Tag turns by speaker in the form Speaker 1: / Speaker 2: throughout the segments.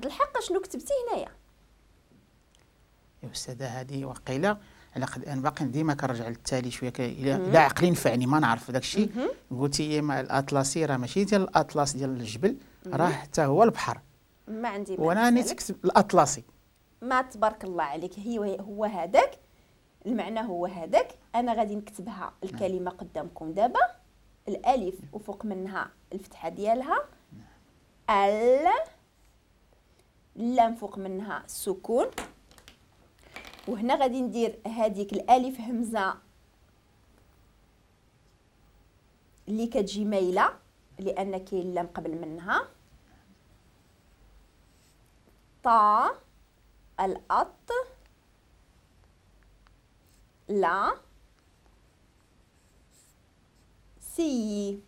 Speaker 1: الحق شنو كتبتي هنايا؟
Speaker 2: يا أستاذة هذه وقيلة على قد أنا باقي ديما كنرجع للتالي شوية، إلا عقلي نفعني ما نعرف داك الشيء. قلتي ما الأطلسي راه ماشي ديال الأطلس ديال الجبل، راه حتى هو البحر.
Speaker 1: ما عندي
Speaker 2: وأنا نتكتب الأطلسي.
Speaker 1: ما تبارك الله عليك، هي هو هذاك المعنى، هو هذاك. أنا غادي نكتبها الكلمة قدامكم دابا، الألف وفوق منها الفتحة ديالها، ال اللام فوق منها السكون، وهنا غادي ندير هذيك الالف همزه اللي كتجي مايلة لان كاين اللام قبل منها. طا الأط لا سي.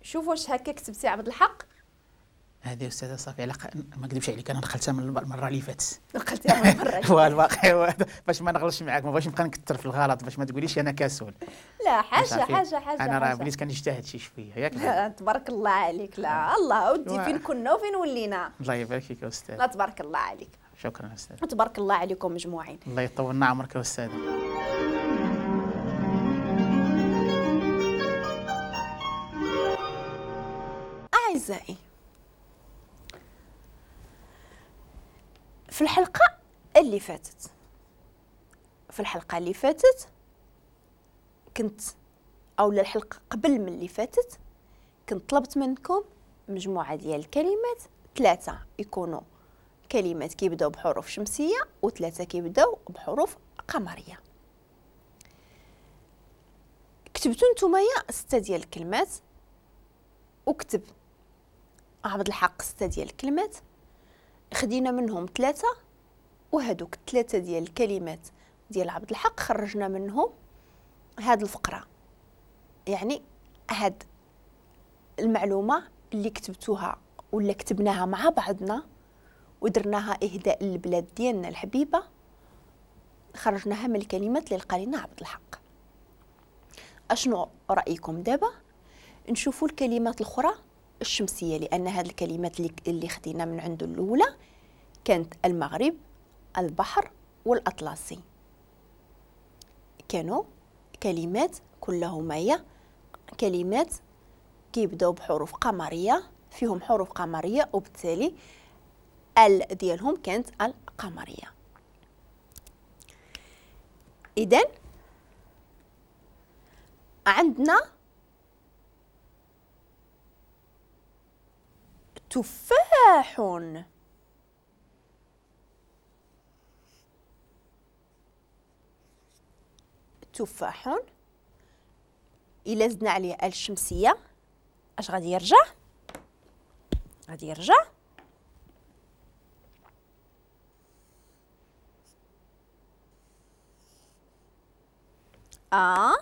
Speaker 1: شوفوا واش هكا كتبتي عبد الحق؟
Speaker 2: هذه أستاذة صافي على ما نكذبش عليك أنا دخلتها من المرة اللي فاتت.
Speaker 1: دخلتيها من المرة اللي
Speaker 2: فاتت. الواقع باش ما نغلطش معاك، ما بغيتش نبقى نكثر في الغلط باش ما تقوليش أنا كسول.
Speaker 1: لا حاجة حاجة حاجة.
Speaker 2: أنا راه بديت كنجتهد شي شوية ياك.
Speaker 1: تبارك الله عليك. لا الله ودي فين كنا وفين ولينا.
Speaker 2: الله يبارك فيك أستاذ.
Speaker 1: لا تبارك الله عليك.
Speaker 2: شكرا أستاذ.
Speaker 1: تبارك الله عليكم مجموعين.
Speaker 2: الله يطولنا عمرك يا أستاذ.
Speaker 1: أعزائي، في الحلقة اللي فاتت، كنت أو الحلقة قبل من اللي فاتت كنت طلبت منكم مجموعة ديال الكلمات، 3 يكونوا كلمات كيبداو بحروف شمسية و3 كيبداو بحروف قمرية. كتبتو نتوما 6 ديال الكلمات، وكتب عبد الحق 6 ديال الكلمات، خدينا منهم 3، وهذوك 3 ديال الكلمات ديال عبد الحق خرجنا منهم هاد الفقرة، يعني هاد المعلومة اللي كتبتوها ولا كتبناها مع بعضنا ودرناها إهداء للبلاد ديالنا الحبيبة، خرجناها من الكلمات اللي لقى لنا عبد الحق. أشنو رأيكم دابا نشوفوا الكلمات الأخرى الشمسية، لأن هذه الكلمات اللي خدينا من عنده الأولى كانت المغرب، البحر، والأطلسي، كانوا كلمات كلهما هي كلمات كيبداو بحروف قمرية، فيهم حروف قمرية، وبالتالي ال ديالهم كانت القمرية. إذن عندنا تفاح، تفاح إلا زدنا عليه الشمسية اش غادي يرجع؟ غادي يرجع أ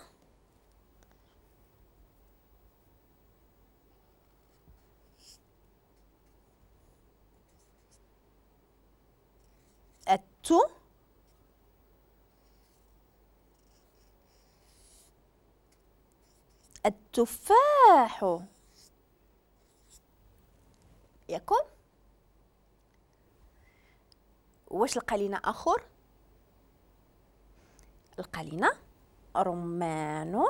Speaker 1: التو التفاح. ياكم واش لقى لينا اخر؟ لقى لينا رمان.